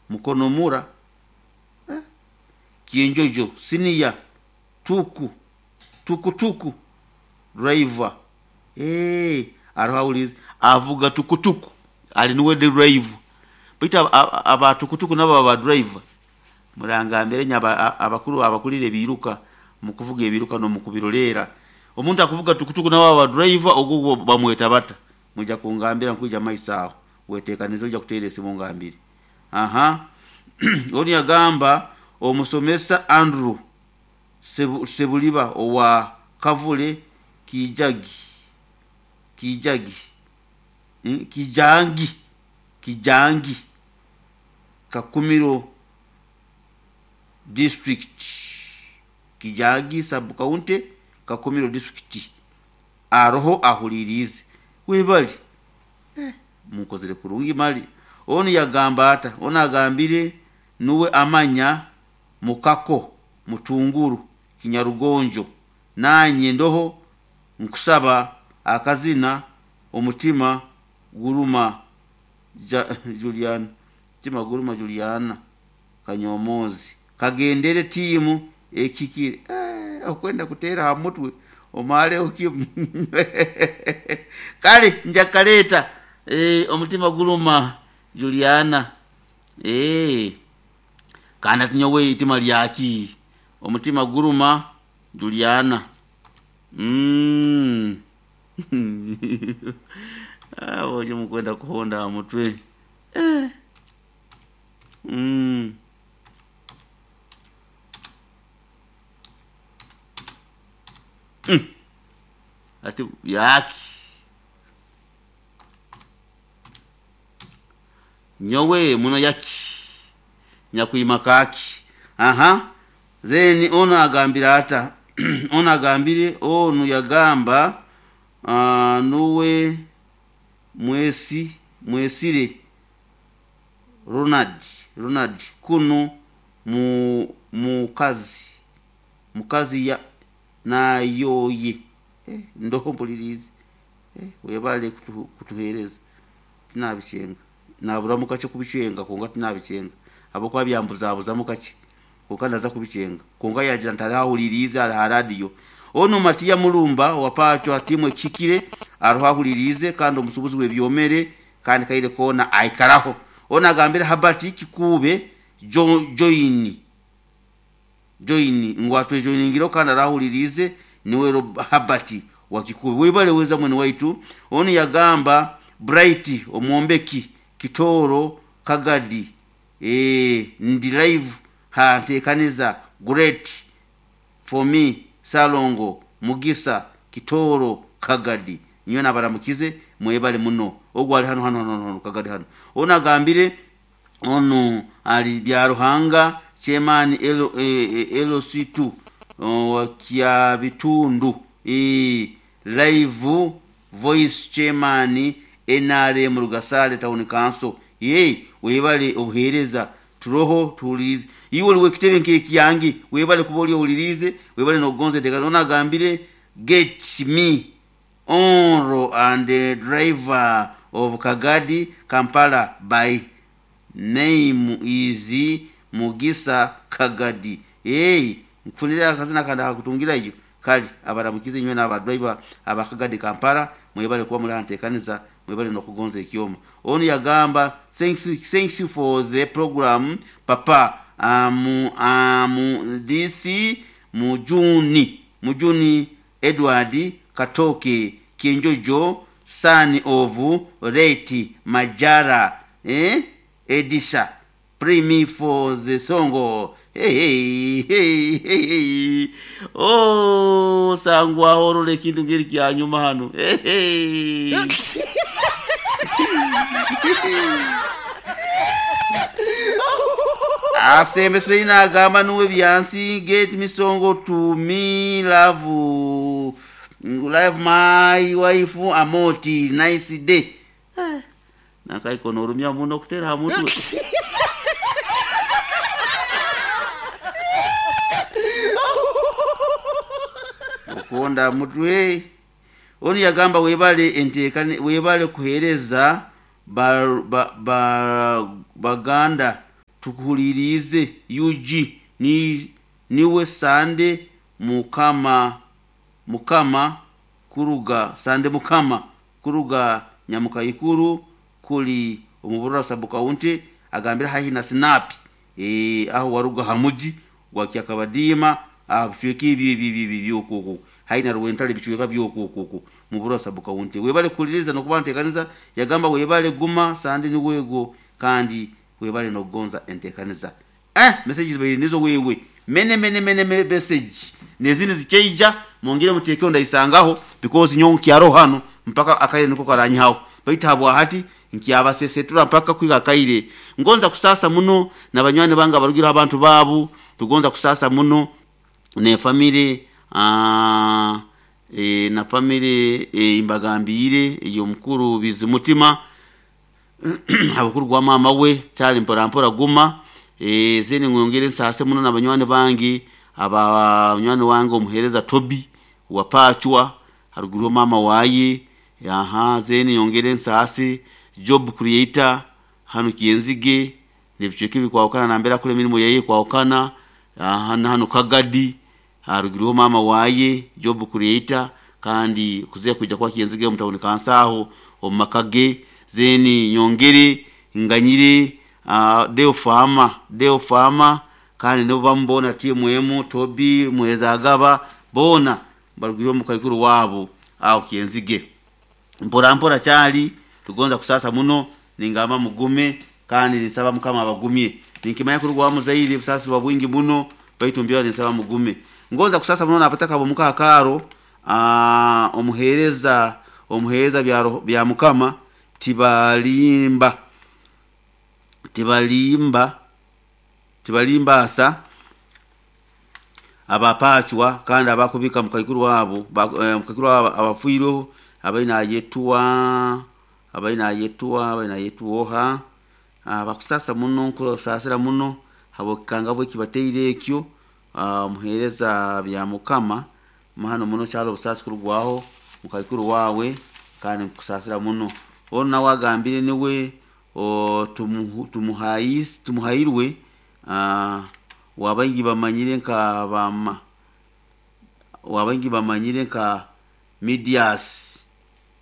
Mukono mura eh? Kienjojo senior tuku tuku tuku driver eh aroho awulize avuga tukutuku ali nuwe driver baitu aba tukutuku nabo aba driver murangambire nye abakuru abakulira ebiruka mukuvuga ebiruka n'omukubiroleera omuntu akuvuga tukutuku nabo aba driver ogwo bamweta bata mwija kungambira nkwija maiso aho wetekanize ojja kuteera esimu ngambire aha onu yagamba omusomesa Andrew Sebuliba owa Kavule Kijagi Kijagi Kijangi Kijangi Kakumiro district Kijangi sub county Kakumiro district aroho ahulirize webali munkozere kurungi mali onu yagamba ata onu agambire nuwe amanya mukako mutunguru kinyarugonjo nanye ndoho nkusaba akazina omutima guruma Juliana mutima guruma Juliana Kanyomozi kagendere tiimu ekikire okwenda kuteera ha mutwe omaleho kimu kale njakaleeta omutima guruma Juliana kandi ati nyowe itima lyaki omutima guruma Juliana ojo mukwenda kuhonda ha mutwe ati yaki nyowe muno yaki nyakuima kaki aha zeni ono agambira ata ono agambire onu yagamba nuwe mwesire Ronald kuno mukazi ya nayoye ndoho mpulirize webale kutuhereza tinabichenga naburamu kache kubichenga konga tinabichenga abokuba byambuzabuzamu kache konka ndaza kubichenga konka yagira ntarahulirize ha radio ono Matiya Mulumba wapacho atimwe kikire arohahulirize kandi omusubuzi webyomere kandi kaire kona aikaraho ono agambira Habati Kikube join ngwatwe joiningiro kandi arahulirize niwe Habati wa Kikube webale weza mwene waitu ono yagamba Bright omwombeki Kitoro Kagadi ndi live hanteekaniza great for me Salongo Mugisa Kitoro Kagadi niyo nabaramukize mwebale muno ogwo ali hano hano hano Kagadi hano ono agambire ono ali bya Ruhanga chairman LC2 wa kya bitundu live voice chairman NRM Rugasale Town Council ye webale obuhereza turoho tulize iwe oliwe kitebe nkekiyangi webale kuba oli owulirize webale nokugonza enteekateeka ono agambire get me onro and the driver of Kagadi Kampala by name is Mugisa Kagadi nkufunire akazina kandi akakutungirayo kale abaramukize nywe n'aba driver aba Kagadi Kampala mwebale kuba muri hanteekaniza mwebale nokugonza ekyoma ono yagamba thanks you for the program papa this mujuni Edward Katoke Kienjojo son of Reti Majara Edisha pray me for the song hey, hey, hey, hey. Oh sangwa orole ekintu ngeri kyanyuma hano hey, hey. Asembe agamba nuwe byansi get me song to me love love my wife amoti nice day nakaikono orumya muno kutera ha mutwe okonda mutwe oni yagamba webale enteekane webale kuhereza baganda Tukuhuliriize UG ni niwe Sande Mukama Mukama kuruga Sande Mukama kuruga Nyamukaikuru kuli omuburura sub county agambira haihi na Snap aho waruga hamuji gwa Kyakabadiima aho bicweka ebyo ebyo ebyo ebyo byokoko haihi na Rwentale bicweka byokoko muburura sub county. Webale kuhuliriza nokuba ntekaniza yagamba webale guma Sande niwego kandi webale nokugonza entekaniza. Messages baire nizo wewe mene mene mene message nezindi zikeija mwongere mutekeo ndaisangaho because nyowe nkyaro hano mpaka akaire niko karanyaho baitu habwa hati nkyabasesetura mpaka kwiga akaire. Ngonza kusasa muno na banywani bange abarugira abantu babu tugonza kusasa muno ne family na family imbagambire ey'omukuru Bizimutima abakuru gwa mama we kyali mpora mpora guma zeni ngongere nsase muno na banywani bange aba munywani wange omuhereza Tobi wapachwa haruguru mama waye aha zeni yongere nsase job creator hano Kienzige nebicweka bikwawukana nambera kule mirimo yaye kwawukana aha hano Kagadi haruguru mama waye job creator kandi kuze kujya kwa Kienzige mutawuni kansaho omumakage zeni nyongere nganyire deo fama kandi nibo bamubona TMM Tobi Mwezagaba bona barugiriwe mu kaikuru wabo aho Kienzige mpora mpora cyali tugonza kusasa muno ningamba mugume kandi nisaba Mukama abagumye ninkimanya kuri gwa muzaire busasi bwa bwingi muno baitu mbyo nisaba mugume ngonza kusasa muno napataka bo mukakaro omuhereza omuhereza bya Mukama tibalimba tibalimba tibalimba asa abapachwa kandi abakubika mukaikuru wabo mukaikuru wabo abafuireho abaina ayetuwa abaina ayetuwa abaina ayetuoha abakusasa muno nkusasira muno habokanga bwe kibateire ekyo muhereza bya Mukama mahano muno cyalo busasi kurugwaho mukaikuru wawe kandi nkusasira muno ono nawe agambire niwe tumuhairwe wabaingi bamanyire nka bama wabaingi bamanyire nka Midias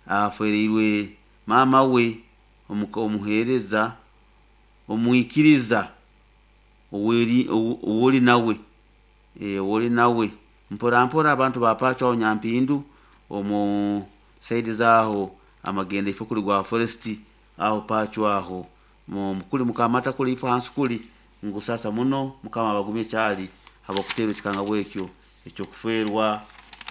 afereirwe mama we omuhereza omwikiriza owori nawe owori nawe mpora mpora abantu bapachwa Nyampindu omu saidi zaho amagenda ifo kuli gwa forest aho pachwa aho mukuli mukamata kuli ifo hansi kuli ngusasa muno Mukama abagumye cyali habakutero kikanga bwekyo ekyo kuferwa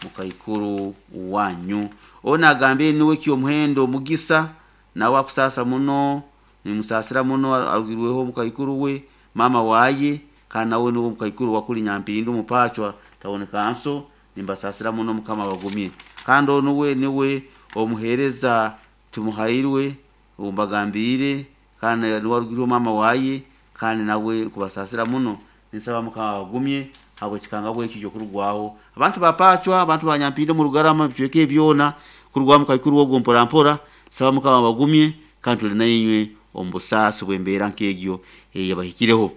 mukaikuru wanyu ona agambe niwe kyo muhendo mugisa nawe akusasa muno nimusasira muno arugirweho mukaikuru we mama waye kana nawe niwe mukaikuru wakuli Nyampindu mupachwa taboneka nso nimbasasira muno Mukama abagumye kandi onuwe niwe omuhereza tumuhairwe umbagambire kandi niwarugirwe mama waye kandi nawe kubasasira muno nisaba Mukama abagumye habwe kikanga bwekyo cyo kurugwaho abantu bapachwa abantu banyampinde mu Rugarama bicweke ebyona kurugwa mukaikuru wo mpora mpora saba Mukama abagumye kandi tuli nayinywe ombusasi bwembeera nk'egyo yabahikireho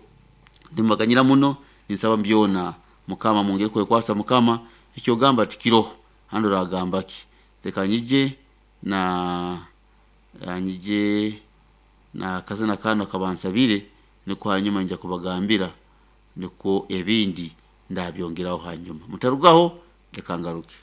ndimubaganyira muno ninsaba mbyona Mukama mwongere kwekwasa Mukama ekyo gamba tukiroho hando ragamba ki reka nyije na nyije na kazina kano kabansabire niko hanyuma nja kubagambira niko ebindi ndabyongeraho hanyuma mutarugaho reka ngaruke.